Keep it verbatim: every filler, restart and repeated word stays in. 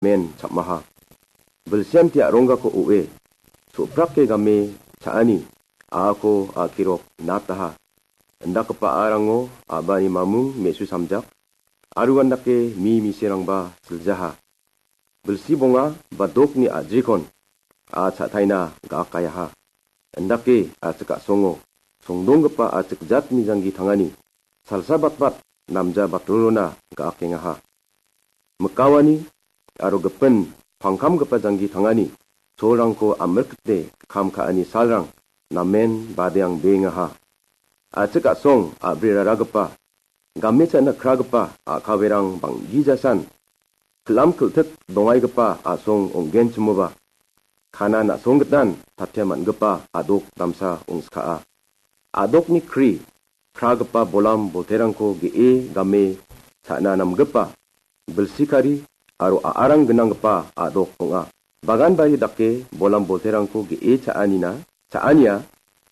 namen cham·aha. Bilsianti a·ronggako o·e, so·prake game cha·ani a·ako a·kirok nataha. Indakgipa a·arango a·bani mamung me·su samjak, aro uandake mi miserangba siljaha. Bilsi bonga ba dokni a·jikon a cha·taina ga·akayaha. Indake a·chik a·songo songdonggipa a·chik jatni janggi tangani salsa batbat namja batrorona ga·akengaha. Mikawani aro gipin pangkamgipa janggi tangani cholrangko amrikte kam ka·ani salrang namen badeang bengaha. A·chik a·song a·briraragipa, game cha·na kragipa a·kawerang bang·gijasan, kilam kiltik dongaigipa a·song ong·genchimoba, kana na·songgitan tatia man·gipa a·dok damsa ong·skaa. A·dokni kri, kragipa bolam bolterangko ge·e game cha·na namgipa, bilsikari aro a·arang gnanggipa a·dok ong·a. Bagan bari dake bolam bolterangko ge·e cha·anina, cha·ania